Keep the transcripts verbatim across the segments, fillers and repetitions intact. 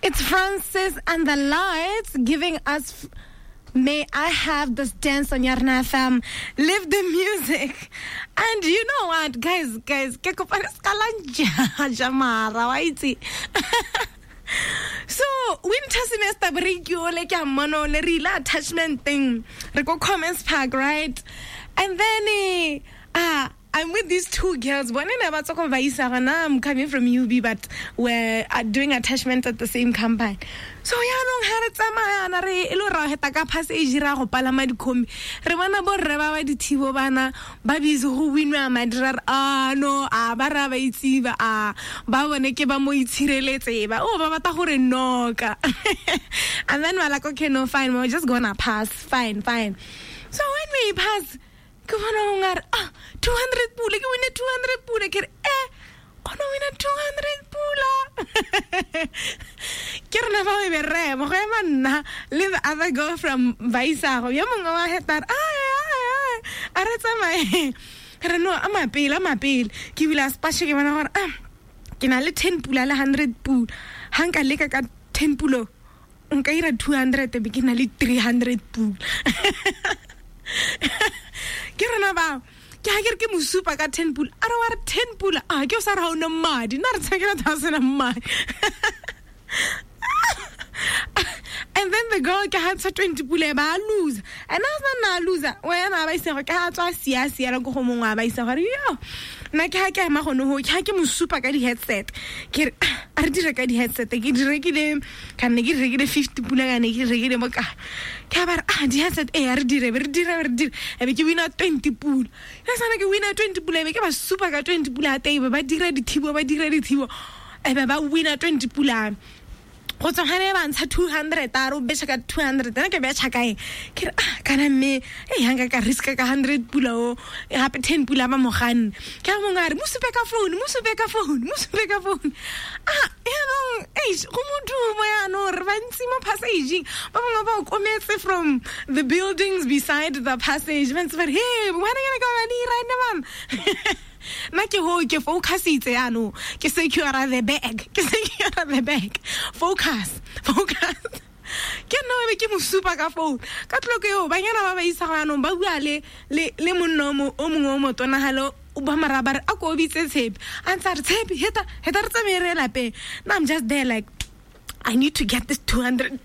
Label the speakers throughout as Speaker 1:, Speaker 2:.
Speaker 1: It's Francis and the Lights giving us f- May I Have This Dance on Yarna F M. Live the music. And you know what, guys, guys, ke kopane ska la nja mara wa itse. So, winter semester break yo le ke a mmono le re ile attachment thing. Re ko Commerce Park, right? And then eh, ah I'm with these two girls. One in about I'm coming from U B, but we're doing attachment at the same company. So yaanong ha re tsamaya na re e le ra heta ka passage ra go palama dikhombi. Re bona bo rre ba ba dithibo bana ba busy go winwa madi ra re ah no a ba ra ba itse ba a ba bone ke ba mo itshireletse ba o ba batla gore noka. And then we're like, okay, no, fine, we're just gonna pass. Fine, fine. So when we pass, ke bona o ngare ah two hundred pula ke win two hundred pula ke re eh kgona wina two hundred pula ke rena ba be re mo go ema nna le the other girl from Baisago yo mongwe wa hetar ai ai ai a re tsamaye re no a mapele a mapele ke bula spashe ke bona gore ah ke na le ten pula le hundred pula ha nka leka ka ten pulo nka ira two hundred be ke na le three hundred pula. Ke rena ba ke ha ke re ke mosupa ka ten pula a re wa re ten pula a ke o sa re ha o na madi nna re tshekela thousand a madi. And then the girl ke ha tsa twenty pula ba lose and I was na loser wena ba isego ke ha tswa sia sia go go mongwe ba isa gore yo nna ke ha ke ema gone ho ke ha ke mosupa ka di headset ke re a re dire ka di headset ke di rekile ka nne ke rekile fifty pula ka ne ke rekile mo ka ke ba re ah di headset eh a re dire re dire re dire e be ke wina twenty pula ya sana ke wina twenty pula e be ke ba supa ka twenty pula teng ba dira dithibo ba dira dithibo e be ba wina twenty pula go tswa gane ba ntsha two hundred a re o betšha ka two hundred ena ke betšha kae ke re ah kana mme e hanga ka risk ka hundred pula o gape ten pula ba moganne ke a mongwe a re mo supe ka phone mo supe ka phone mo supe ka phone ah yaanong eish go modumo yaanong re bantsi mo passageng ba bangwe ba okometse from the buildings beside the passage ba ntse ba re hey wena ke ka ba dira ene bana. Nna ke ho ke focusitse yaanong ke secure the bag ke secure the bag focus focus ke nna be ke mo supa ka phone ka tloko eo banyana ba ba isa go yaanong ba bua le le le monna o mongwe o motonagalo o ba mara ba re a ko bitse Tshepi a ntse a re Tshepi heta heta re tsamaye re lapeng. Nna I'm just there like I need to get this two hundred.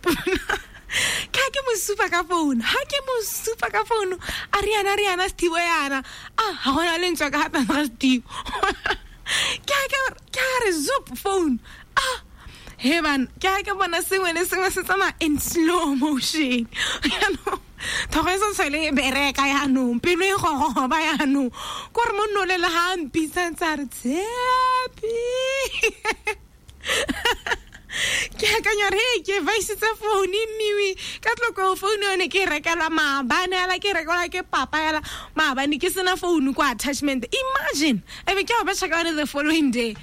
Speaker 1: Ke ha ke mo supa ka phone ha ke mo supa ka phone a re yana re yana Steve yana ah ha gona le ntswa ka hapa ga Steve ke ha ke ke ha re zoop phone ah he ban ke ha ke bona sengwe le sengwe se tsamaya in slow motion yaanong thogo e sa le bereka yaanong pelo e gogoba yaanong ko re monno le le ha mpitsa ntse a re Tshepi. Ke akanya re ke vaisitse phone mmiwi ka tloko phone yone ke rekelwa maabane ala ke rekelwa ke papa ala maabane ke sena phone kwa attachment imagine e be ke ba betšha ka yone the following day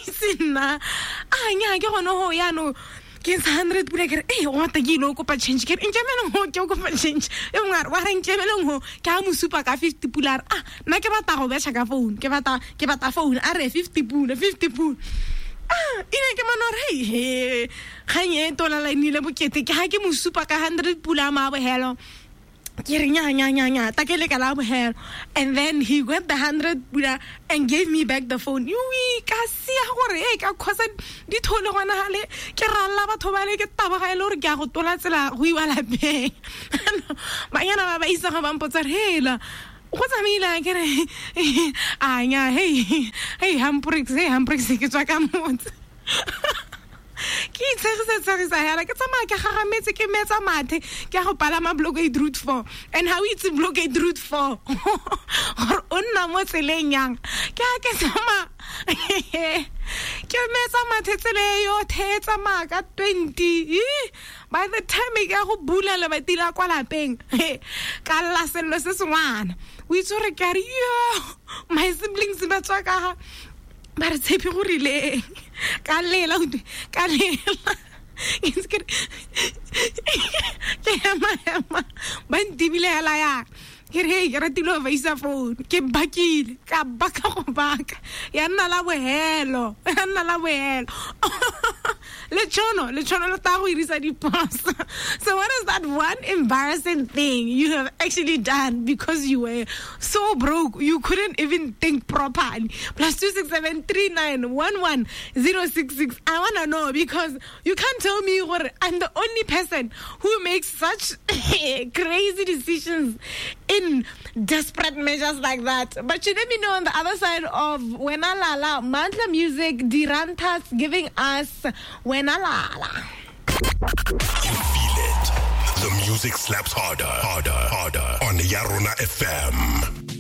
Speaker 1: se nna a nya ke gone ho yaanong ke ntsha hundred pula ke re eh o batla ke ile o kopa change ke re nkemeleng ho ke o kopa change e mongwe a re wa re nkemeleng ho ke a mo supa ka fifty pula a re ah nna ke batla go betšha ka phone ke batla ke batla phone a re fifty pula fifty pula ah ine ke mona re he kgang e tola la nile bokete ke ha ke mo supa ka hundred pula ma bohelo ke re nya nya nya nya ta ke le ka la bohelo. And then he got the hundred pula and gave me back the phone. Yui ka sia gore e ka khosa di thole gona hale ke ralla batho ba le ke tabaga ile gore ke a go tola tsela go iwa lapeng. Banyana ba ba isa ga ba mpotsa hela go tsamaile ke re a nya hey hey hamprix hey hamprix ke tswa ka motse ke itshegisa tshegisa hela ke tsamaya ke gagametse ke metsa mathe ke a go palama blockade route four and how it's blockade route four gore o nna mo tseleng yang ke a ke tsamaya ke metsa mathe tsele yothe e tsamaya ka twenty by the time ke ya go bula lebati la kwa lapeng ka lla sello se sengwana o itse gore ke a re yo my siblings ba tswa ka ga ba re Tshepi go rileng ka lela ka lela ke ema ema ba ntibile hela ya ke re hey ke ratile go isa phone ke bakile ka baka go baka ya nna la bohelo ya nna la bohelo. Lechono, lechono le tla go irisa diphoso. So what is that one embarrassing thing you have actually done because you were so broke you couldn't even think properly? Plus two six seven three nine one one zero six six. I wanna know, because you can't tell me gore I'm the only person who makes such crazy decisions in desperate measures like that. But you let me know on the other side of Wena Lala, Mantla Music, Dirantas giving us Wena Lala.
Speaker 2: You feel it. The music slaps harder, harder, harder on Yarona F M.